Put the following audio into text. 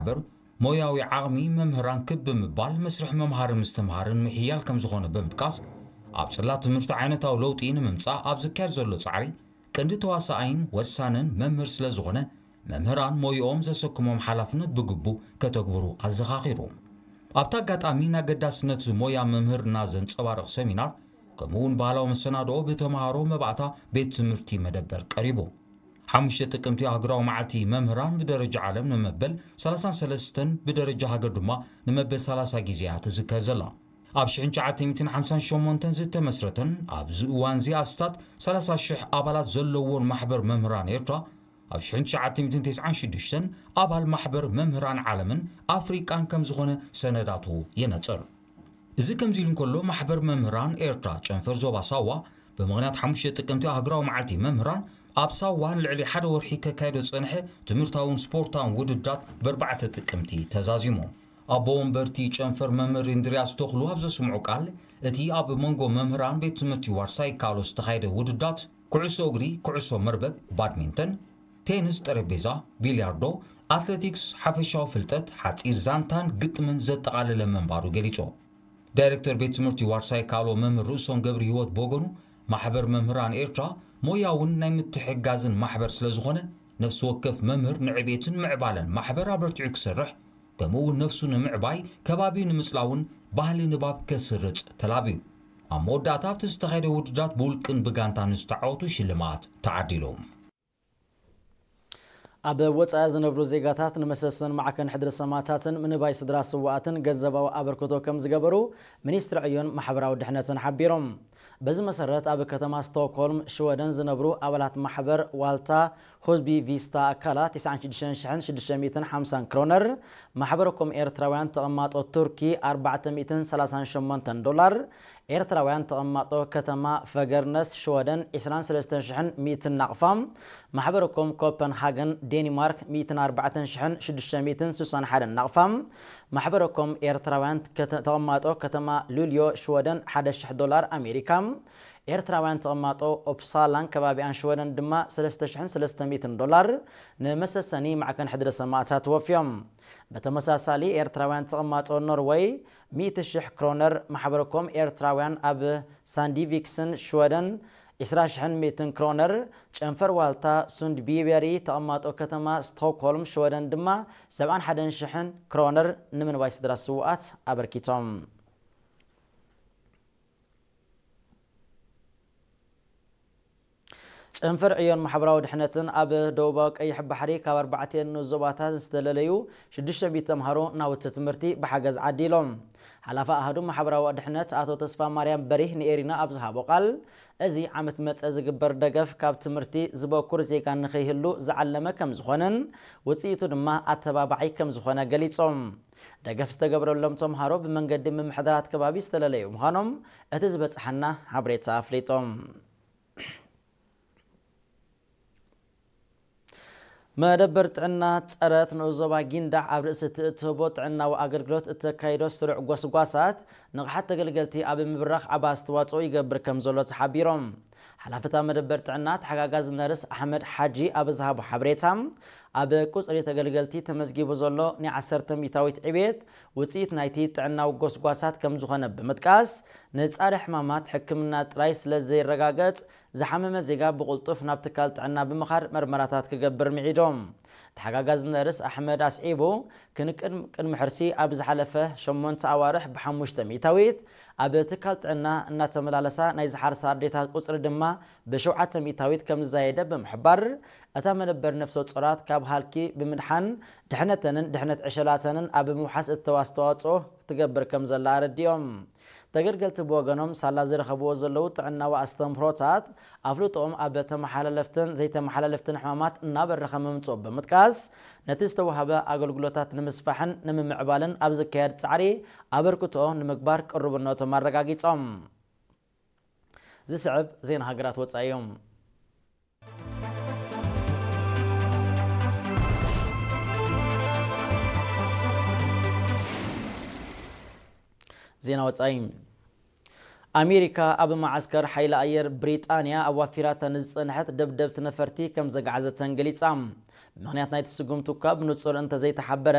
እምበር፣ ሞያዊ ዓቕሚ መምህራን ክብ ብምባል መስርሕ መምሃሪ ምስትምሃርን ምሕያል ከም ዝኾነ ብምጥቃስ፣ ኣብ ጽላት ትምህርቲ ዓይነታዊ ለውጢ ንምምጻእ ኣብ ዝካየድ ዘሎ ጻዕሪ ቀንዲ ተዋሳኣይን ወሳንን መምህር ስለ ዝኾነ፣ መምህራን ሞይኦም ዘሰክሞም ሓላፍነት ብግቡእ ከተግብሩ ኣዘኻኺሩ። ኣብቲ ኣጋጣሚ፣ ንኣገዳስነት ሞያ መምህርና ዘንጸባርቕ ሰሚናር፣ ከምኡ'ውን ባህላዊ መሰናድኦ ብተምሃሮ መባእታ ቤት ትምህርቲ መደበር ቀሪቡ። ሓሙሽተ ጥቅምቲ ኣህጉራዊ መዓልቲ መምህራን ብደረጃ ዓለም ንመበል ሰላሳን ሰለስተን፣ ብደረጃ ሃገር ድማ ንመበል ሰላሳ ግዜ እያ ትዝከር ዘላ። ኣብ ሽሕን ትሽዓተ ሚእትን ሓምሳን ሸሞንተን ዝተመስረተን ኣብዚ እዋንዚ ኣስታት ሰላሳ ሽሕ ኣባላት ዘለዎን ማሕበር መምህራን ኤርትራ፣ ኣብ ሽሕን ትሽዓተ ሚእትን ተስዓን ሽዱሽተን ኣባል ማሕበር መምህራን ዓለምን ኣፍሪቃን ከም ዝኾነ ሰነዳቱ የነጽር። እዚ ከምዚ ኢሉ እንከሎ፣ ማሕበር መምህራን ኤርትራ ጨንፈር ዞባ ሳዋ ብምኽንያት ሓሙሽተ ጥቅምቲ ኣህጉራዊ መዓልቲ መምህራን ኣብ ሳዋ ንልዕሊ ሓደ ወርሒ ከካይዶ ዝጸንሐ ትምህርታውን ስፖርታውን ውድድራት በርባዕተ ጥቅምቲ ተዛዚሙ። ኣቦ ወንበርቲ ጨንፈር መምህር እንድርያስ ተኽሉ ኣብ ዘስምዖ ቃል፣ እቲ ኣብ መንጎ መምህራን ቤት ትምህርቲ ዋርሳይ ካሎ ዝተኻየደ ውድድራት ኩዕሶ እግሪ፣ ኩዕሶ መርበብ፣ ባድሚንተን፣ ቴንስ ጠረጴዛ፣ ቢልያርዶ፣ ኣትሌቲክስ፣ ሓፈሻዊ ፍልጠት፣ ሓጺር ዛንታን ግጥምን ዘጠቓለለ ምንባሩ ገሊጹ። ዳይሬክተር ቤት ትምህርቲ ዋርሳይ ካሎ መምህር ርእሶም ገብረ ህይወት ብወገኑ፣ ማሕበር መምህራን ኤርትራ ሞያውን ናይ ምትሕግጋዝን ማሕበር ስለ ዝኾነ፣ ነፍሲ ወከፍ መምህር ንዕቤትን ምዕባለን ማሕበር ኣበርቲዑ ክሰርሕ፣ ከምኡ እውን ነፍሱ ንምዕባይ፣ ከባቢኡ ንምጽላውን ባህሊ ንባብ ከስርጽ ተላብዩ። ኣብ መወዳእታ ኣብቲ ዝተኻየደ ውድድራት ብውልቅን ብጋንታን ዝተዓወቱ ሽልማት ተዓዲሉ። ኣብ ወጻኢ ዝነብሩ ዜጋታት ንመሰሰን ማዕከን ሕድሪ ሰማእታትን ምንባይ ስድራ ስውኣትን ገንዘባዊ ኣበርክቶ ከም ዝገበሩ ሚኒስትሪ ዕዮን ማሕበራዊ ድሕነትን ሓቢሮም። በዚ መሰረት ኣብ ከተማ ስቶክሆልም ሽወደን ዝነብሩ ኣባላት ማሕበር ዋልታ ሁዝቢ ቪስታ ኣካላት ተስዓን ሽዱሽተን ሽሕን ሽዱሽተ ሚእትን ሓምሳን ክሮነር፣ ማሕበረኮም ኤርትራውያን ተቐማጦ ቱርኪ ኣርባዕተ ሚእትን ሰላሳን ሸሞንተን ዶላር፣ ኤርትራውያን ተቐማጦ ከተማ ፈገርነስ ሽወደን ዕስራን ሰለስተን ሽሕን ሚእትን ናቕፋ፣ ማሕበረኮም ኮፐንሃገን ዴንማርክ ሚእትን ኣርባዕተን ሽሕን ሽዱሽተ ሚእትን ስሳን ሓደን ናቕፋ፣ ማሕበረኮም ኤርትራውያን ከተ-፣ ተቐማጦ ከተማ ሉልዮ ሽወደን ሓደ ሽሕ ዶላር ኣሜሪካ፣ ኤርትራውያን ተቐማጦ ኦፕሳላን ከባቢኣን ሽወደን ድማ ሰለስተ ሽሕን ሰለስተ ሚእትን ዶላር ንመሰሰኒ ማዕከን ሕድሪ ሰማእታት ወፍዮም። ብተመሳሳሊ ኤርትራውያን ተቐማጦ ኖርወይ ሚእቲ ሽሕ ክሮነር፣ ማሕበረኮም ኤርትራውያን ኣብ ሳንዲቪክስን ሽወደን ዕስራ ሽሕን ሚእትን ክሮነር፣ ጨንፈር ዋልታ ሱንድቢበሪ ተቐማጦ ከተማ ስቶክሆልም ሽወደን ድማ ሰብዓን ሓደን ሽሕን ክሮነር ንምንባይ ስድራ ስውኣት ኣበርኪቶም። ጨንፈር ዕዮን ማሕበራዊ ድሕነትን ኣብ ደቡባዊ ቀይሕ ባሕሪ ካብ ኣርባዕቲኤን ንኡስ ዞባታት ዝተለለዩ ሽዱሽተ ሚእቲ ተምሃሮ ናውቲ ትምህርቲ ብሓገዝ ዓዲሎም። ሓላፊ ኣሃዱ ማሕበራዊ ድሕነት ኣቶ ተስፋ ማርያም በሪህ ንኤሪና ኣብ ዝሃቦ ቃል፣ እዚ ዓመት መጸ ዝግበር ደገፍ ካብ ትምህርቲ ዝበኩር ዜጋ ንኸይህሉ ዝዓለመ ከም ዝኾነን ውጽኢቱ ድማ ኣተባባዒ ከም ዝኾነ ገሊጾም። ደገፍ ዝተገብረሎም ተምሃሮ ብመንገዲ ምምሕዳራት ከባቢ ዝተለለዩ ምዃኖም እቲ ዝበጽሓና ሓበሬታ ኣፍሊጦም። መደበር ጥዕና ጸረት ንኡስ ዞባ ጊንዳዕ ኣብ ርእሲ እቲ እትህቦ ጥዕናዊ ኣገልግሎት እተካይዶ ስሩዕ ጎስጓሳት ንቕሓት ተገልገልቲ ኣብ ምብራኽ ዓቢ ኣስተዋጽኦ ይገብር ከም ዘሎ ተሓቢሮም። ሓላፊ እታ መደበር ጥዕና ተሓጋጋዚ ነርስ ኣሕመድ ሓጂ ኣብ ዝሃቦ ሓበሬታ፣ ኣብ ቁጽሪ ተገልገልቲ ተመዝጊቡ ዘሎ ናይ ዓሰርተ ሚእታዊት ዕቤት ውጽኢት ናይቲ ጥዕናዊ ጎስጓሳት ከም ዝኾነ ብምጥቃስ፣ ንጻረ ሕማማት ሕክምና ጥራይ ስለ ዘይረጋገጽ፣ ዝሓመመ ዜጋ ብቕልጡፍ ናብ ትካል ጥዕና ብምኻድ መርመራታት ክገብር ምዒዶም። ተሓጋጋዚ ነርስ ኣሕመድ ኣስዒቡ፣ ክንቅድም ቅድሚ ሕርሲ ኣብ ዝሓለፈ ሸሞንተ ኣዋርሕ ብሓሙሽተ ሚእታዊት፣ ኣብ ትካል ጥዕና እናተመላለሳ ናይ ዝሓርሳ ኣዴታት ቁጽሪ ድማ ብሸውዓተ ሚእታዊት ከም ዝዛየደ ብምሕባር፣ እታ መደበር ነፍሰ ጾራት ካብ ሃልኪ ብምድሓን ድሕነተንን ድሕነት ዕሸላተንን ኣብ ምውሓስ እተዋ ኣስተዋጽኦ ትገብር ከም ዘላ ኣረዲኦም። ተገልገልቲ ብወገኖም ሳላ ዝረኸብዎ ዘለዉ ጥዕናዊ ኣስተምህሮታት ኣፍልጦኦም ኣብ ተመሓላለፍትን ዘይተመሓላለፍትን ሕማማት እናበረኸ ምምጽኡ ብምጥቃስ፣ ነቲ ዝተዋህበ ኣገልግሎታት ንምስፋሕን ንምምዕባልን ኣብ ዝካየድ ጻዕሪ ኣበርክትኦ ንምግባር ቅሩብነቶም ኣረጋጊጾም። ዝስዕብ ዜና ሃገራት ወጻኢ እዩ። ዜና ወጻኢ። ኣሜሪካ ኣብ መዓስከር ሓይሊ ኣየር ብሪጣንያ ኣዋፊራታ ንዝጸንሐት ደብደብቲ ነፈርቲ ከም ዘግዓዘተን ገሊጻ። ምኽንያት ናይቲ ስጉምቲ እኳ ብንጹር እንተዘይተሓበረ፣